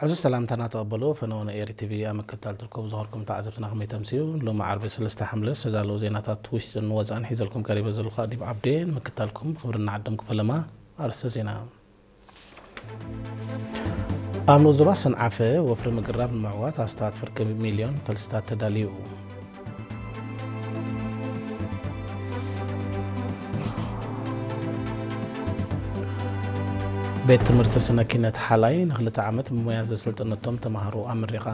ዕዙዝ ሰላምታና ተቐበሉ። ፈነወ ንኤሪ ቲቪ ኣብ ምክትታል ትርከቡ ዝኸርኩም ተዓዘብትና ከመይ ተምስዩ? ሎሚ ዓርቢ ሰለስተ ሓምለ ዝተዳለዉ ዜናታት ውሽጥን ወፃእን ሒዘልኩም ቀሪበ ዘለኹ ኣዲብ ዓብዴ። ንምክትታልኩም ብኽብሪ እናዓደምኩ ፈለማ ኣርእስተ ዜና። ኣብ ንኡስ ዞባ ሰንዓፈ ወፍሪ ምግራብ ንምዕዋት ኣስታት ፍርቂ ሚልዮን ፈልስታት ተዳልዩ። ቤት ትምህርቲ ስነ ኪነት ሓላይ ንክልተ ዓመት ብሞያ ዘሰልጠነቶም ተምሃሮ ኣመሪቓ።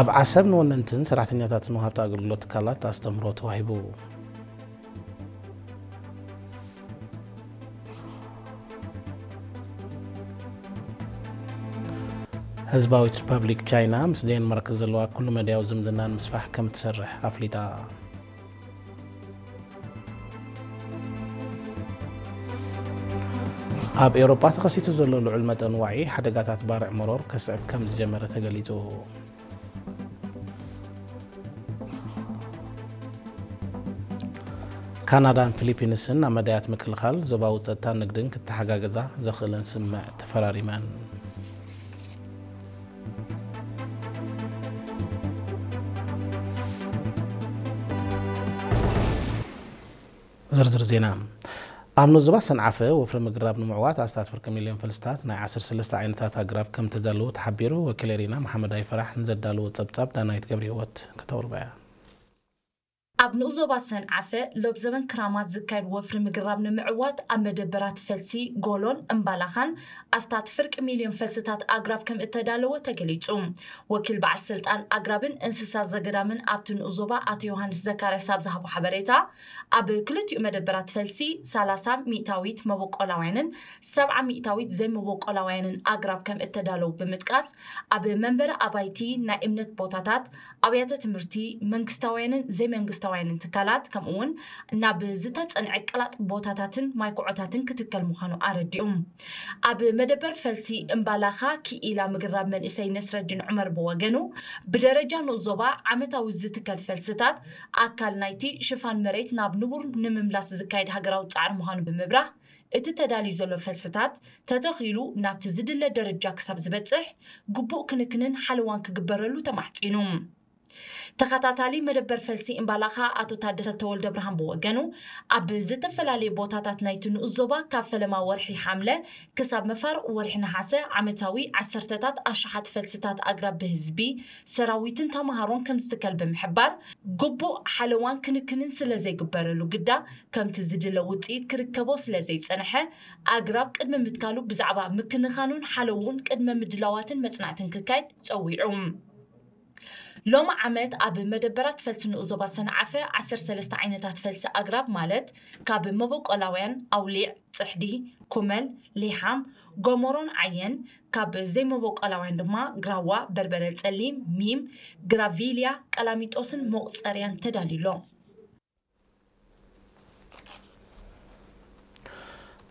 ኣብ ዓሰብ ንወነንትን ሰራሕተኛታትን ወሃብቲ ኣገልግሎት ትካላት ኣስተምህሮ ተዋሂቡ። ህዝባዊት ሪፐብሊክ ቻይና ምስ ዴንማርክ ዘለዋ ኩሉ መዳያዊ ዝምድና ንምስፋሕ ከም ትሰርሕ ኣፍሊጣ። ኣብ ኤውሮጳ ተኸሲቱ ዘሎ ልዑል መጠን ዋዒ ሓደጋታት ባርዕ መሮር ከስዕብ ከም ዝጀመረ ተገሊጹ። ካናዳን ፊሊፒንስን ኣብ መዳያት ምክልኻል ዞባዊ ጸጥታን ንግድን ክተሓጋገዛ ዘኽእለን ስምምዕ ተፈራሪመን። ዝርዝር ዜና። ኣብ ንኡስ ዞባ ሰንዓፈ ወፍሪ ምግራብ ንምዕዋት ኣስታት ፍርቂ ሚልዮን ፈልስታት ናይ ዓሰርተ ሰለስተ ዓይነታት ኣግራብ ከም ተዳለዉ ተሓቢሩ። ወኪል ኤሪና መሓመድ ኣይፈራሕ ንዘዳለዎ ጸብጻብ ዳናይት ገብረ ህይወት ከተቕርባ እያ። ኣብ ንኡስ ዞባ ሰንዓፈ ሎብ ዘበን ክራማት ዝካየድ ወፍሪ ምግራብ ንምዕዋት ኣብ መደበራት ፈልሲ ጎሎን እምባላኻን ኣስታት ፍርቂ ሚልዮን ፈልስታት ኣግራብ ከም እተዳለወ ተገሊጹ። ወኪል በዓል ስልጣን ኣግራብን እንስሳ ዘገዳምን ኣብቲ ንኡስ ዞባ ኣቶ ዮሃንስ ዘካርያስ ኣብ ዝሃቦ ሓበሬታ፣ ኣብ ክልቲኡ መደበራት ፈልሲ ሰላሳ ሚእታዊት መበቆላውያንን ሰብዓ ሚእታዊት ዘይመበቆላውያንን ኣግራብ ከም እተዳለዉ ብምጥቃስ፣ ኣብ መንበሪ ኣባይቲ፣ ናይ እምነት ቦታታት፣ ኣብያተ ትምህርቲ፣ መንግስታውያንን ዘይመንግስታውያንን ትካላት፣ ከምኡውን ናብ ዝተጸንዐ ቀላጥ ቦታታትን ማይኩዖታትን ክትከል ምዃኑ ኣረዲኡ። ኣብ መደበር ፈልሲ እምባላኻ ክኢላ ምግራብ መንእሰይ ነስረዲን ዑመር ብወገኑ፣ ብደረጃ ንኡስ ዞባ ዓመታዊ ዝትከል ፈልስታት ኣካል ናይቲ ሽፋን መሬት ናብ ንቡር ንምምላስ ዝካየድ ሃገራዊ ጻዕሪ ምዃኑ ብምብራህ፣ እቲ ተዳልዩ ዘሎ ፈልስታት ተተኺሉ ናብቲ ዝድለ ደረጃ ክሳብ ዝበጽሕ ግቡእ ክንክንን ሓለዋን ክግበረሉ ተማሕጺኑ። ተኸታታሊ መደበር ፈልሲ እምባላኻ ኣቶ ታደሰ ተወልደ ብርሃን ብወገኑ፣ ኣብ ዝተፈላለዩ ቦታታት ናይቲ ንኡስ ዞባ ካብ ፈለማ ወርሒ ሓምለ ክሳብ መፋርቕ ወርሒ ነሓሰ ዓመታዊ ዓሰርተታት ኣሽሓት ፈልስታት ኣግራብ ብህዝቢ፣ ሰራዊትን ተምሃሮን ከም ዝትከል ብምሕባር፣ ግቡእ ሓለዋን ክንክንን ስለ ዘይግበረሉ ግዳ፣ ከምቲ ዝድለ ውጽኢት ክርከቦ ስለ ዘይጸንሐ፣ ኣግራብ ቅድሚ ምትካሉ ብዛዕባ ምክንኻኑን ሓለውኡን ቅድመ ምድላዋትን መጽናዕትን ክካየድ ጸዊዑ። ሎሚ ዓመት ኣብ መደበራት ፈልሲ ንኡስ ዞባ ሰንዓፈ ዓሰርተ ሰለስተ ዓይነታት ፈልሲ ኣግራብ ማለት ካብ መበቆላውያን ኣውሊዕ፣ ጽሕዲ፣ ኩመል፣ ሊሓም፣ ጎሞሮን ዓየን፣ ካብ ዘይመበቆላውያን ድማ ግራዋ፣ በርበረ ጸሊም፣ ሚም፣ ግራቪልያ፣ ቀላሚጦስን መቑጸርያን ተዳልዩ ኣሎ።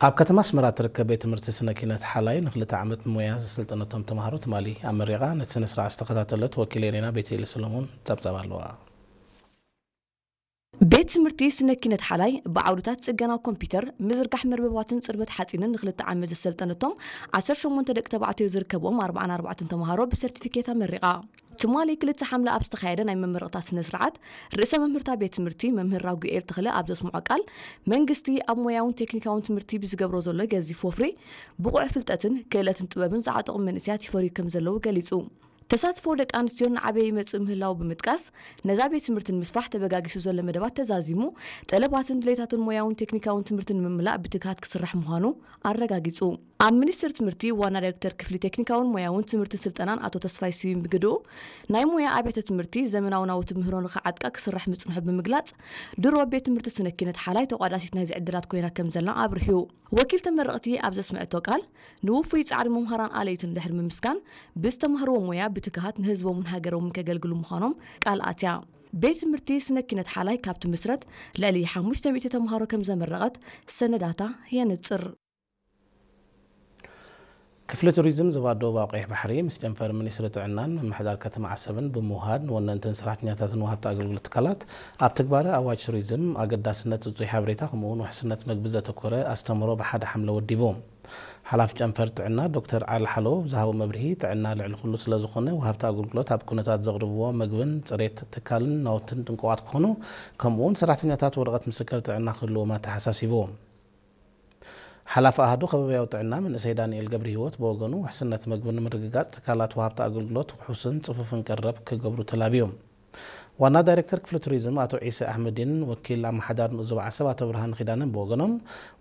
ኣብ ከተማ ኣስመራ እትርከብ ቤት ትምህርቲ ስነ ኪነት ሓላይ ንክልተ ዓመት ሞያ ዘሰልጠነቶም ተምሃሮ ትማሊ ኣመሪቓ። ነቲ ስነ ስርዓት ዝተኸታተለት ወኪል ኤሬና ቤተኤል ሰሎሞን ጸብጻብ ኣለዋ። ቤት ትምህርቲ ስነ ኪነት ሓላይ ብዓውድታት ጽገና ኮምፒውተር፣ ምዝርጋሕ መርበባትን ጽርበት ሓጺንን ንክልተ ዓመት ዘሰልጠነቶም ዓሰርተ ሸሞንተ ደቂ ተባዕትዮ ዝርከብዎም ኣርባዓን ኣርባዕተን ተምሃሮ ብሰርቲፊኬት ኣመሪቓ። ትማሊ ክልተ ሓምለ ኣብ ዝተኻየደ ናይ መመረቕታ ስነ ስርዓት፣ ርእሰ መምህርታ ቤት ትምህርቲ መምህር ራጉኤል ተኽለ ኣብ ዘስምዖ ቃል፣ መንግስቲ ኣብ ሞያውን ቴክኒካውን ትምህርቲ ብዝገብሮ ዘሎ ገዚፍ ወፍሪ፣ ብቑዕ ፍልጠትን ክእለትን ጥበብን ዝዓጠቑ መንእሰያት ይፈርዩ ከም ዘለዉ ገሊጹ። ተሳትፎ ደቂ ኣንስትዮን ንዓበየ ይመጽእ ምህላዉ ብምጥቃስ፣ ነዛ ቤት ትምህርቲ ንምስፋሕ ተበጋጊሱ ዘሎ መደባት ተዛዚሙ፣ ጠለባትን ድሌታትን ሞያውን ቴክኒካውን ትምህርቲ ንምምላእ ብትግሃት ክስራሕ ምዃኑ ኣረጋጊጹ። ኣብ ሚኒስቴር ትምህርቲ ዋና ዳይሬክተር ክፍሊ ቴክኒካውን ሞያውን ትምህርትን ስልጠናን ኣቶ ተስፋይ ስዩም ብግድኡ፣ ናይ ሞያ ኣብያተ ትምህርቲ ዘመናዊ ናውቲ ምህሮ ንኽዓጥቃ ክስራሕ ምጽንሑ ብምግላጽ፣ ድሮ ቤት ትምህርቲ ስነ ኪነት ሓላይ ተቋዳሲት ናይዚ ዕድላት ኮይና ከም ዘላ ኣብሪሁ። ወኪል ተመረቕቲ ኣብ ዘስምዐቶ ቃል፣ ንውፉይ ጻዕሪ መምሃራን ኣለይትን ድሕሪ ምምስጋን፣ ብዝተማህርዎ ሞያ ብትግሃት ንህዝቦምን ሃገሮምን ከገልግሉ ምዃኖም ቃል ኣትያ። ቤት ትምህርቲ ስነ ኪነት ሓላይ ካብ ትምስረት ልዕሊ ሓሙሽተ ሚእቲ ተምሃሮ ከም ዘመረቐት ሰነዳታ የንጽር። ክፍሊ ቱሪዝም ዞባ ደቡባዊ ቀይሕ ባሕሪ ምስ ጨንፈር ሚኒስትሪ ጥዕናን ምምሕዳር ከተማ ዓሰብን ብምውሃድ ንወነንትን ሰራሕተኛታትን ወሃብቲ ኣገልግሎት ትካላት ኣብ ትግባረ ኣዋጅ ቱሪዝም ኣገዳስነት እጹይ ሓበሬታ ከምኡውን ውሕስነት መግቢ ዘተኮረ ኣስተምህሮ ብሓደ ሓምለ ወዲቡ። ሓላፊ ጨንፈር ጥዕና ዶክተር ዓሊ ሓሎ ዝሃቦ መብርሂ፣ ጥዕና ልዕሊ ኩሉ ስለ ዝኾነ ወሃብቲ ኣገልግሎት ኣብ ኩነታት ዘቕርብዎ መግብን ጽሬት ትካልን ናውትን ጥንቁቓት ክኾኑ፣ ከምኡውን ሰራሕተኛታት ወረቐት ምስክር ጥዕና ክህልዎም ኣተሓሳሲቡ። ሓላፊ ኣሃዱ ከባብያዊ ጥዕና መንእሰይ ዳንኤል ገብረ ህይወት ብወገኑ፣ ውሕስነት መግቢ ንምርግጋጽ ትካላት ወሃብቲ ኣገልግሎት ውሑስን ጽፉፍን ቀረብ ክገብሩ ተላብዩ። ዋና ዳይሬክተር ክፍሊ ቱሪዝም ኣቶ ዒሰ ኣሕመዲን ወኪል ኣመሓዳሪ ንኡስ ዞባ ዓሰብ ኣቶ ብርሃን ኪዳነን ብወገኖም፣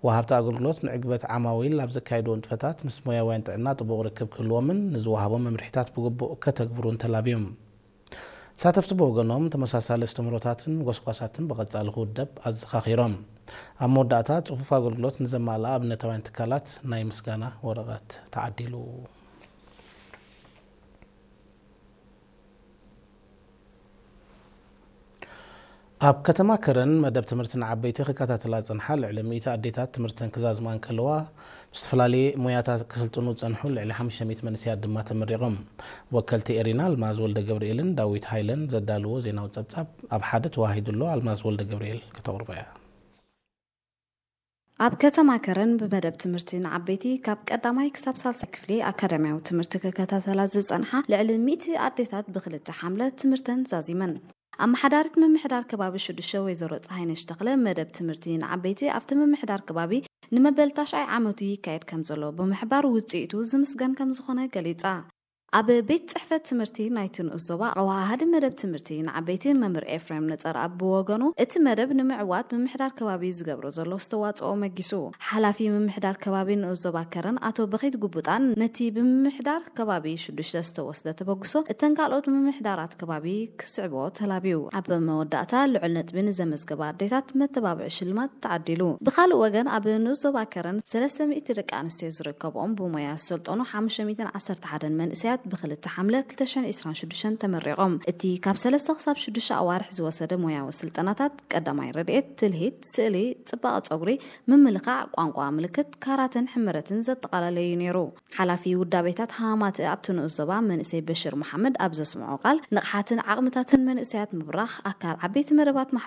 ወሃብቲ ኣገልግሎት ንዕግበት ዓማዊል ኣብ ዘካየድዎ ንጥፈታት ምስ ሞያውያን ጥዕና ጥቡቕ ርክብ ክህልዎምን ንዝወሃቦም መምርሒታት ብግቡእ ከተግብሩን ተላብዮም። ተሳተፍቲ ብወገኖም፣ ተመሳሳሊ ኣስተምህሮታትን ጎስጓሳትን ብቐጻሊ ክውደብ ኣዘኻኺሮም። ኣብ መወዳእታ፣ ጽፉፍ ኣገልግሎት ንዘማልኣ ኣብነታውያን ትካላት ናይ ምስጋና ወረቐት ተዓዲሉ። ኣብ ከተማ ከረን መደብ ትምህርቲ ንዓበይቲ ክከታተላ ዝጸንሓ ልዕሊ ሚእቲ ኣዴታት ትምህርተን ክዛዝማ እንከለዋ፣ ብዝተፈላለየ ሞያታት ክስልጥኑ ዝጸንሑ ልዕሊ ሓሙሽተ ሚእቲ መንእሰያት ድማ ተመሪቖም። ወከልቲ ኤሪና ኣልማዝ ወልደ ገብርኤልን ዳዊት ሃይለን ዘዳልዎ ዜናዊ ጸብጻብ ኣብ ሓደ ተዋሂዱ ኣሎ። ኣልማዝ ወልደ ገብርኤል ከተቕርቦ እያ። ኣብ ከተማ ከረን ብመደብ ትምህርቲ ንዓበይቲ ካብ ቀዳማይ ክሳብ ሳልሳይ ክፍሊ ኣካዳሚያዊ ትምህርቲ ክከታተላ ዝጸንሓ ልዕሊ ሚእቲ ኣዴታት ብክልተ ሓምለ ትምህርተን ዛዚመን። ኣመሓዳሪት ምምሕዳር ከባቢ ሽዱሽተ ወይዘሮ ፀሃይነሽ ተኽለ፣ መደብ ትምህርቲ ንዓበይቲ ኣብቲ ምምሕዳር ከባቢ ንመበል ታሽዓይ ዓመቱ ይካየድ ከም ዘሎ ብምሕባር፣ ውፅኢቱ ዝምስገን ከም ዝኾነ ገሊፃ። ኣብ ቤት ፅሕፈት ትምህርቲ ናይቲ ንኡስ ዞባ ኣወሃሃዲ መደብ ትምህርቲ ንዓበይቲ መምህር ኤፍሬም ነፀርኣብ ብወገኑ፣ እቲ መደብ ንምዕዋት ምምሕዳር ከባቢ ዝገብሮ ዘሎ ኣስተዋፅኦ መጊሱ። ሓላፊ ምምሕዳር ከባቢ ንኡስ ዞባ ከረን ኣቶ በኺት ጉቡጣን፣ ነቲ ብምምሕዳር ከባቢ ሽዱሽተ ዝተወስደ ተበግሶ እተን ካልኦት ምምሕዳራት ከባቢ ክስዕቦ ተላብዩ። ኣብ መወዳእታ፣ ልዑል ነጥቢ ንዘመዝገባ ኣዴታት መተባብዒ ሽልማት ተዓዲሉ። ብኻልእ ወገን፣ ኣብ ንኡስ ዞባ ከረን ሰለስተ ሚእቲ ደቂ ኣንስትዮ ዝርከብኦም ብሞያ ዝሰልጠኑ ሓሙሽተ ሚእትን ዓሰርተ ሓደን መንእሰያት ብክልተ ሓምለ ክልተ ሽሕን ዕስራን ሽዱሽተን ተመሪቖም። እቲ ካብ ሰለስተ ክሳብ ሽዱሽተ ኣዋርሕ ዝወሰደ ሞያዊ ስልጠናታት ቀዳማይ ረድኤት፣ ትልሂት፣ ስእሊ፣ ጽባቐ ጸጉሪ፣ ምምልኻዕ፣ ቋንቋ ምልክት፣ ካራተን ሕምረትን ዘጠቓለለ እዩ ነይሩ። ሓላፊ ውዳቤታት ሃማማት ኣብቲ ንኡስ ዞባ መንእሰይ በሽር መሓመድ ኣብ ዘስምዖ ቃል፣ ንቕሓትን ዓቕምታትን መንእሰያት ምብራኽ፣ ኣካል ዓበይቲ መደባት